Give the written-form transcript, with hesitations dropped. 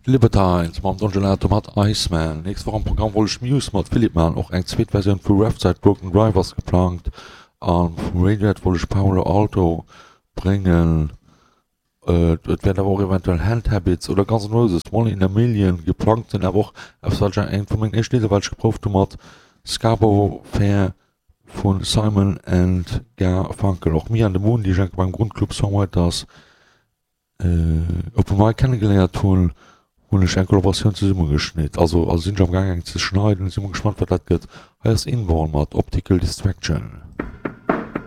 Libertines mam Don Gelato mat Iceman. Nächst Woch am Programm wollt ech Muse mat Philippe maachen, och eng zweet Versioun vu Refside Broken Drive ass geplangt a vu Radiohead wollt ech Paolo Alto bréngen. Et wäert awer och eventuell Hand Habits oder Guns N' Roses One in a Million geplangt sinn, awer och eppes wat ech eng vu mengen éischten Lidder wat ech geprouft hu mat Scarborough Fair vu Simon and Garfunkel. Och Me and the Moon déi ech enke beim Grundclub Songwriters Open Mic kennegeléiert hunn, hunn ech eng Kollaboratioun zesummegeschnitt, also also sinn ech am gaang eng ze schneiden, si mol gespannt wat dat gëtt. Hei ass Inborn mat Optical Distraction.